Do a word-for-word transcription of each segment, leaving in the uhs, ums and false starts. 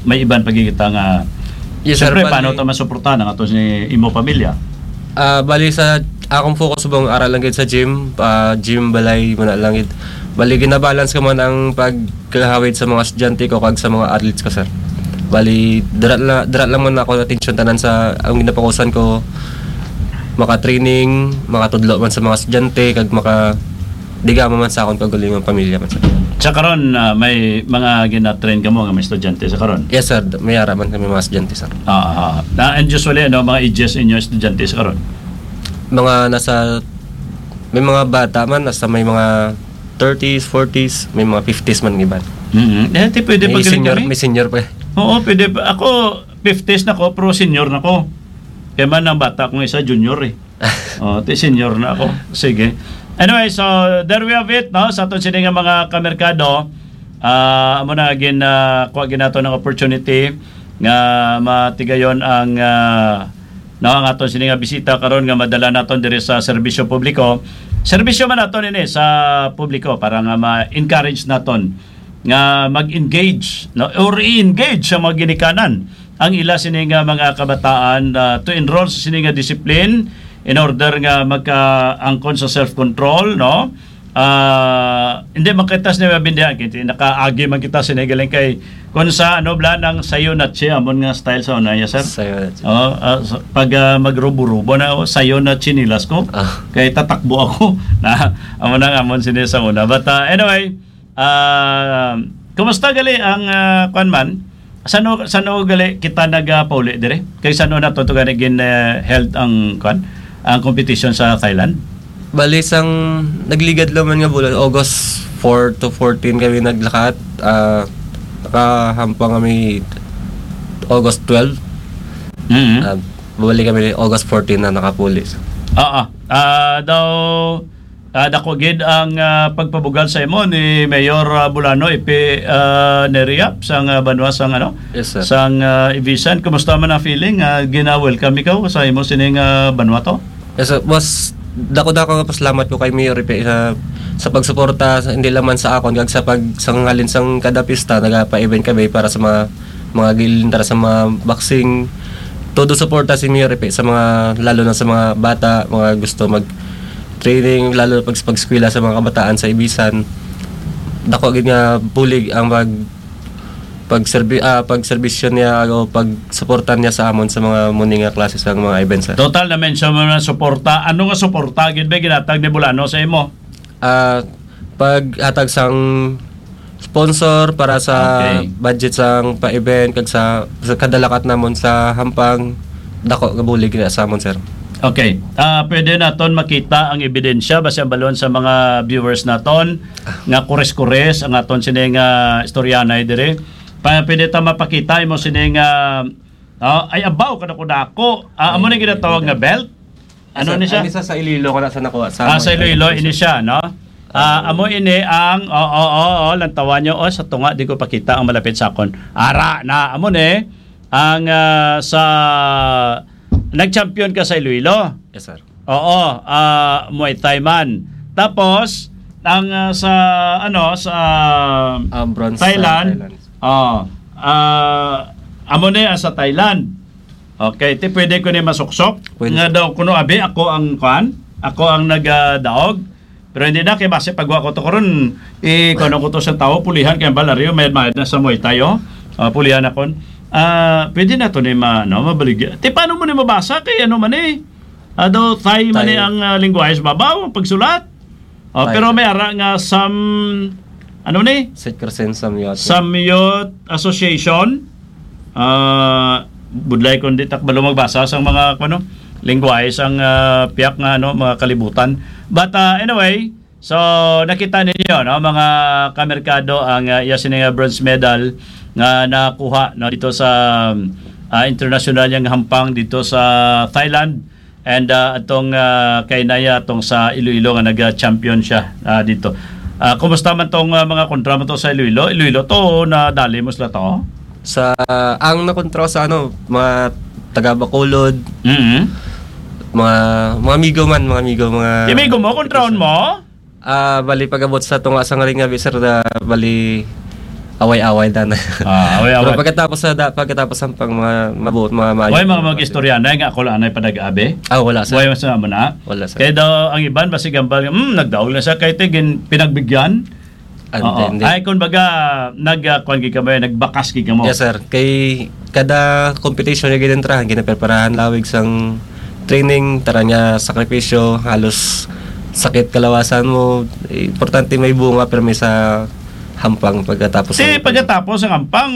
may iban pa gid kita nga, Yes, sir. Siyempre, Bali, paano ta masuportahan ang ato si imo pamilya? Ah, bali sa akong focus bang aral lang gid sa gym, ah, gym balay mo na lang gid. Bali ginabalance ko man ang pagkahawid sa mga estudyante ko kag sa mga athletes ko, sir. Bali dira la-, dira lang man ako atensyon tanan sa ang ginapokusan ko, maka-training, makatudlo man sa mga estudyante kag maka diga man sa akon kaugalingong pamilya man, sir. Sa karon, ah, may mga gina-train kamo nga mga estudyante sa karon? Yes, sir. May ara man kami mga estudyante, sir. Ah, ah. Na, and usually, ano, mga ages inyo estudyante sa karon? Mga nasa, may mga bata man, nasa may mga thirties, forties, may mga fifties man ang iban. Mm-hmm. Eh, di pwede May pa galing senior, kami? May senior pa. Oo, pwede pa. Ako, fifties na ko, pero senior na ko. Kaya man ang bata kong isa, junior eh. Oh, ti senior na ako. Sige. Anyway, so there we have it, no? Sa aton sini nga mga kamerkado, ah, amo na gin, ah, kuha gid nato ng opportunity nga matigayon ang, ah, no, ang aton sini nga bisita karon nga madala naton diri sa serbisyo publiko. Serbisyo man naton ini sa publiko para nga ma-encourage naton nga mag-engage, no, or i-engage sa mga ginikanan ang ila sini nga mga kabataan, ah, to enroll sa sini nga discipline in order nga magkaangkon sa self-control, no? Ah, hindi man kita sini mabindihan, kay nakaagi man kita sini galing kay kung sa ano bla nang sayo na siya amon nga style sa una, yes, sir? Sayo na siya. Oh, ah, sa- pag ah, magrubo-rubo na, oh, sayo na chinilas ko. Ah. Kay tatakbo ako na amo nang amon sini sa una. But ah, anyway, Ah, kumusta gali ang, ah, kwan man? Sano, sano gali kita nagapauli dire? Kay sano na to, to gani gin, eh, held ang kwan, ang competition sa Thailand? Bali, sang nagligad lang man nga bulan, August four to fourteen kami naglakat. Ah, nakahampang kami August twelve. Mhm. Ah, bumalik kami August fourteen na nakapuli. Oo. Ah, daw, Ah, dako gid ang, ah, pagpabugal sa imo ni Mayor, ah, Bulano, Ipi, ah, Neriap, sang, ah, banwa sang, ano, Yes, sir. sang, ah, Ibisan. Kumusta man ang feeling? Ah, gina-welcome ikaw sa imo sining, ah, banwa to? Yes, sir. Mas dako-dako nga pasalamat ko kay Mayor Ipi sa, sa pagsuporta, sa, hindi lamang sa akon, kag sa pag, sa ngalin sang kada pista, nagapa-event kami para sa mga mga gilintar sa mga boxing. Todo suporta si Mayor Epe sa mga, lalo na sa mga bata, mga gusto mag-training, lalo na pag, pag-eskwela sa mga kabataan sa Ibisan. Dako gid nga bulig ang pag, pagserbi-, ah, pagserbisyo niya o pagsuporta niya sa amon sa mga muni nga klase sa mga events, sir. Total, na-mention mo na suporta. Ano nga suporta gid ba ginatag ni Bulano sa imo? Ah, paghatag sang sponsor para sa Okay. budget sang pa-event kag sa, sa kadalakat namon sa Hampang, dako nga bulig na sa amon, sir. Okay. Ah, pwede naton makita ang ebidensya basi ang balon sa mga viewers naton nga kures-kures ang aton sini nga istoryanay diri. Pa, pwede ta mapakita imo sini nga, ah, ay, abaw, kadako-dako. Ah, amo na Ay, ginatawag nga belt. Ano Sa, ni siya? Ano siya sa Iloilo ko na sa nakuha, sa Ah, sa mga Iloilo, ano ini siya. siya, no? Ah, Oo. amo ini ang, oo, oo, oo, lantawan nyo, oh, sa tunga, di ko pakita ang malapit sa akon. Ara na, amo ni, ang, ah, sa, nag-champion ka sa Iloilo. Yes, sir. Oo, ah, Muay Thai man. Tapos, ang, ah, sa, ano, sa Um, bronze sa Thailand, Thailand. Oh, ah, amo ni, ah, sa Thailand. Okay, ti pwede ko ni masuksok Pwede. nga daw kuno abi ako ang kuan, ako ang nagadaog. Pero hindi na kay base pagwa ko to karon, eh, kuno ko to sa tao, pulihan kay balaryo may mayad na sa Muay Thai, oh. Ah, pulihan ako. Ah, pwede na to ni ma-, no, mabaligya. Ti paano mo ni mabasa kay ano man eh? Ah, daw Thai man Thai. eh ang, ah, lingwahe sa babaw, ang pagsulat. Oh, Thai. Pero may ara nga Sam, ano ni? Saint Crescent Samyot. Samyot Association. Ah, budlay kung di takbalo magbasa sang mga, ano, lingwahe sang, ah, piyak nga, ano, mga kalibutan. But, ah, anyway, so nakita ninyo, no, mga kamerkado, ang, ah, iya sini nga bronze medal nga nakuha, no, dito sa, ah, international yang hampang dito sa Thailand. And, ah, atong, ah, kay Naya, atong sa Iloilo nga nag-champion siya, ah, dito. Ah, kumusta man tong, ah, mga kontra mo to sa Iloilo? Iloilo to, nadali mo sila to? Sa, ang nakontra sa, ano, mga taga Bacolod, Mm-hmm. mga, mga amigo man, mga amigo, mga Amigo mo, kontraon mo? Ah, bali, pag-abot sa tunga sa ngaling nga, sir, na bali, away-away na na. Ah, away-away. Pero pagkatapos sa da-, pagkatapos ang pang mga mabuot, mga maayo. Way mga mag-istorya na nga ako lang anay padag-abi? Ah, wala, sir. Way mas na mo na? Wala, sir. Kaya daw ang iban, basi gambal, "Hmm, nagdaog na siya kay tigin pinagbigyan." Ah, Oo. hindi, hindi. Ay, kung baga, nag, ah, kwan gid kamo, nagbakas gid kamo. Yes, sir. Kay kada competition nga ginentrahan, ginapreparahan lawig sang training, tara nga sakripisyo, halos sakit kalawasan mo. Importante may bunga, pero may sa hampang pagkatapos Ti, ng pagkatapos ang hampang,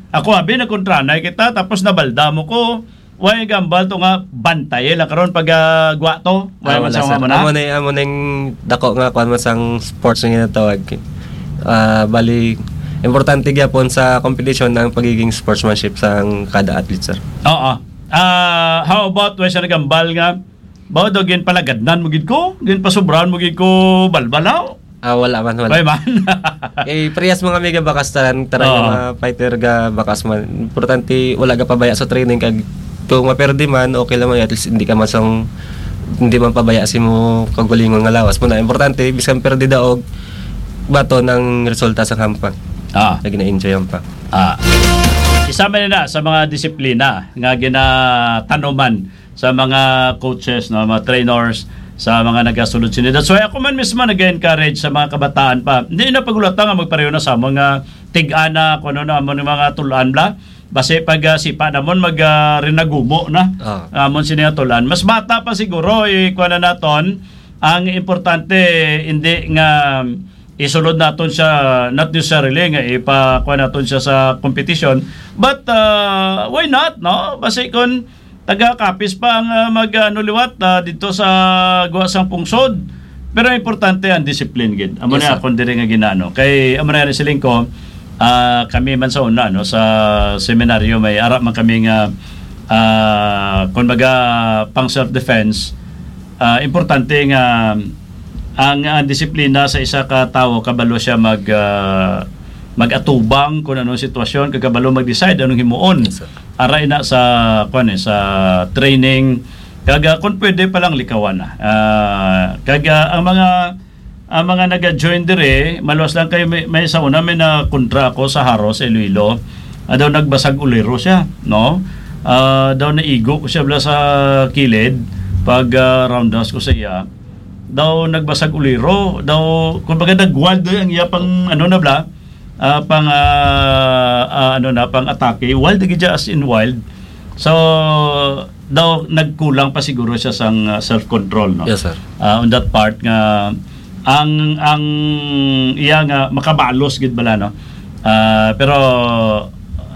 ako, abi, nagkontranay kita, tapos nabalda mo ko, way gambal to nga bantay lang karon pag, ah, gwa to. Way Ah, man wala, sa sir. mga mo na? Amo na, amo na yung dako nga, kwan man sang sports nga ginatawag. Ah, bali, importante gyapon sa competition ang pagiging sportsmanship sang kada athlete, sir. Oo. Ah, how about, way sa nagambal nga, ba, daw ginpalagadnan mo gid ko? Ginpasubrahan mo gid ko balbal, haw? Ah, wala man, wala. Way man. Eh, parehas mga mega bakas tanan, tanan Oo. nga mga fighter ga bakas man. Importante, wala ga pabaya sa training kag kung maperde man, okay lang man, at least hindi ka man sang, hindi man pabaya si mo kagalingon nga lawas mo na. Importante, bisan perde daog, baton ang resulta sa hampang. Ah. Na gina-enjoy ang pa. Ah. Isa man na sa mga disiplina nga ginatanuman sa mga coaches, no, mga trainers, sa mga nagasulod sini. That's why ako man mismo nag-encourage sa mga kabataan pa. Hindi na pagulata nga magpareho na sa mga tig-ana, kung ano na, amo ni mga tulan bla. Basi pag, ah, sipa namon mag, ah, rinagumo na. Ah. Amon sini nga tulan. Mas bata pa siguro, eh, kuha na naton. Ang importante, hindi nga isulod naton siya, not necessarily nga ipa-, kuha naton siya sa competition. But, ah, why not, no? Basi kung taga-Capiz pa ang, ah, mag, ano, liwat, ah, dito sa guwa sang pungsod. Pero ang importante ang discipline gid. Amo Yes, na sir. akong diri nga ginano. Kay amo na rin siling ko, ah, kami man sa una, no, sa seminaryo, may ara man kami nga, ah, kung baga, pang self-defense, ah, importante nga ang, ang disiplina sa isa ka tawo, kabalo siya mag, ah, mag-atubang kung anong sitwasyon, kag kabalo mag-decide anong himuon. Yes, sir. Aray na sa, kwan eh, sa training, kag, ah, kung pwede pa lang likawan na. Ah, kag, ah, ang mga, ang mga naga-join dire, maluwas lang kayo, may, may sa una, may na kontra ako sa Haro, sa Iloilo. Ah, daw nagbasag uliro siya, no? Ah, daw naigo ko siya bala sa kilid pag, ah, roundhouse ko sa iya. Daw nagbasag uliro, daw, kumbaga, nag-wild ang iya pang, ano na bala, ah, pang, ah, ah, ano na, pang atake. Wild na gid siya, as in wild. So, daw nagkulang pa siguro siya sang, ah, self-control, no? Yes, sir. Ah, on that part nga, ang, ang iya nga makabalos gid bala, no? Ah, pero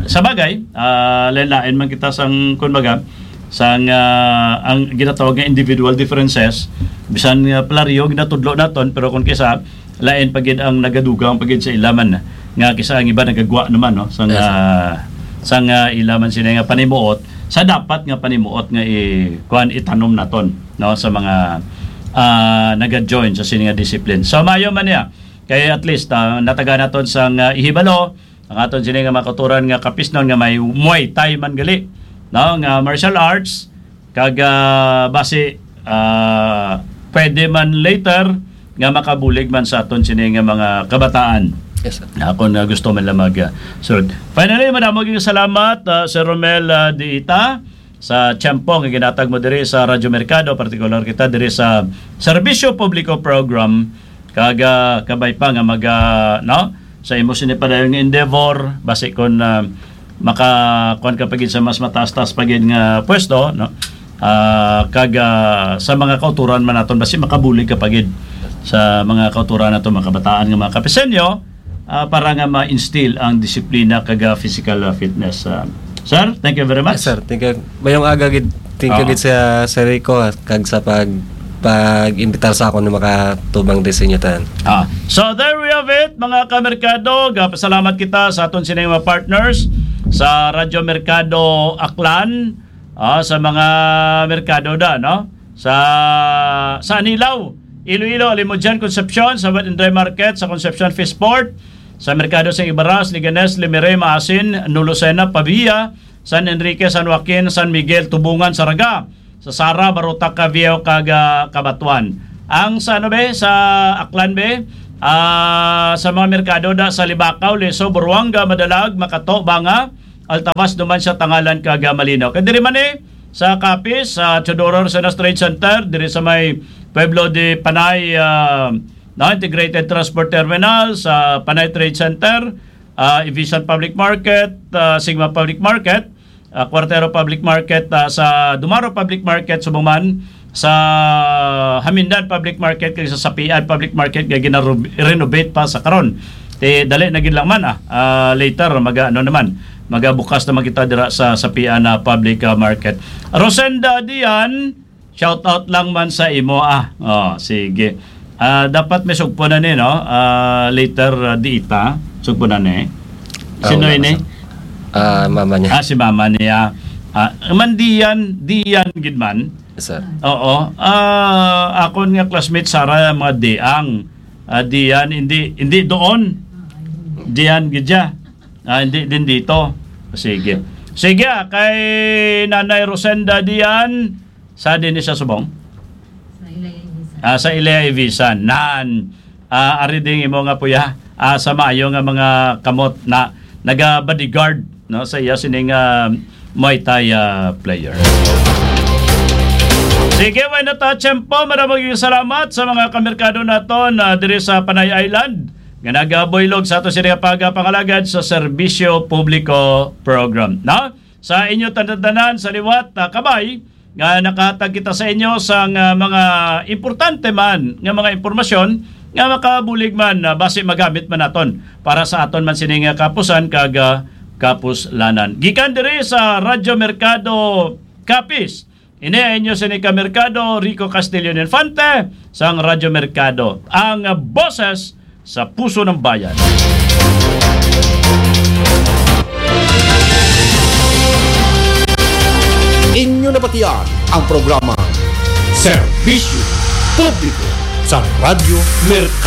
sa bagay, ah, lain-lain man kita sang, kun baga, sang, ah, ang ginatawag nga individual differences, bisan nga pareho ginatudlo naton, pero kung kisa, lain pa gid ang nagadugang pa gid sa ila man, nga kisa ang iba nagagwa naman, no, sang, Yes, sir. ah, sang, ah, ila man sila nga panimuot, sa dapat nga panimuot nga i-, kuan, itanom naton, no, sa mga, ah, naga-join sa sini nga discipline. So, maayo man niya. Kay at least, ah, nataga naton sang, ah, ihibalo ang aton sini nga mga kauturan nga Capisnon nga may Muay Thai man gali, no, nga martial arts, kag, ah, basi, ah, pwede man later nga makabulig man sa aton sini nga mga kabataan. Yes, sir. Na kung, ah, gusto man lang mag, ah, sulod. Finally, madamo gyud salamat, ah, Sir Romel, ah, Diita, sa tiyempo nga ginatag mo diri sa Radyo Merkado, partikular kita diri sa Serbisyo Publiko Program, kag, ah, kabay pa nga mag, ah, no, sa imo sini padayon nga endeavor, basi kon, ah, maka-, kuwan ka pa gid sa mas mataas-taas pa gid nga pwesto, no? Ah, kag, ah, sa mga kauturan man naton, basi makabulig ka pa gid sa mga kauturan naton, mga kabataan nga mga Kapiseño, ah, para nga ma-instill ang disiplina kag, ah, physical, ah, fitness. Ah, sir, thank you very much. Yes, sir. Thank you. Mayong aga gid. Thank you Oo. gid sa, sa Rico, ah, kag sa pag, pag-imbitar sa akon na makatubang din sa inyo tanan. Ah. So, there we have it, mga kamerkado. Gapasalamat kita sa aton sining mga partners sa Radyo Merkado Aklan, ah, sa mga merkado da, no? Sa, sa Anilao, Iloilo, Alimodian, Concepcion, sa Wet and Dry Market, sa Concepcion Fish Port, sa Merkado sa Ibaras, Leganes, Lemery, Maasin, New Lucena, Pavia, San Enrique, San Joaquin, San Miguel, Tubungan, Saraga, sa Sara, Barotac, Caviejo, kag, ah, Cabatuan. Ang sa, ano, be, sa Aklan, be, Ah, sa mga merkado da sa Libacao, Lezo, Buruanga, Madalag, Makato, Banga, Altavas, Duman sa Tangalan, kag, ah, Malinaw. Kay diri man ni sa Capiz, sa Teodoro Arcenas Trade Center, diri sa may Pueblo de Panay, ah, no, Integrated Transport Terminal, sa Panay Trade Center, ah, Evisan Public Market, ah, Sigma Public Market, ah, Cuartero Public Market, ah, sa Dumaro Public Market, subong man sa Hamindan Public Market, kag sa Sapian Public Market nga ginarenovate pa sa karon. Ti dali na gid lang man, ah, ah, later maga ano naman, magabukas naman kita dira sa Sapian na Public, ah, Market. Rosenda Dian, shout out lang man sa imo, ah. Oh, sige. Ah, dapat may sugpo na ni, no? Ah, later, ah, di ita, sugpo na ni. Ah, Sino wala ini? Ah, mama niya. Ah, si mama niya. Ah, man Dian, Dian gid man. Sir. Oo. Ah, akon nga classmate Sara, mga Diang. Ah, Dian, hindi, hindi doon. Dian gid siya. Ah, hindi din dito. Sige. Sige, ah, kay Nanay Rosenda Dian, sa din ni sa subong? Sa Ilaya Ibisan. Ah, sa Ilaya Ibisan. Nan, ah, ari ding imo nga puya. Ah, sa maayo nga mga kamot na naga-bodyguard, no, sa iya sining, ah, Muay Thai, ah, player. Sige, way na ta tiyempo. Maraming salamat sa mga kamerkado naton, ah, diri sa Panay Island nga nagabuylog sa ato sini nga pagapangalagad sa serbisyo publiko program, no? Sa inyo tanan-tanan sa liwat, ah, kabay, nga nakahatag kita sa inyo sang, ah, mga importante man nga mga impormasyon nga makabulig man, ah, basi magamit man naton para sa aton man sini nga kapusan kag, ah, kapuslanan. Gikan diri sa Radyo Merkado Capiz, ini ang inyo sini ka Merkado, Rico Castillo Infante, sang Radyo Merkado, ang boses sa puso ng bayan. Inyo nabatian ang programa Serbisyo Publiko sa Radyo Merkado.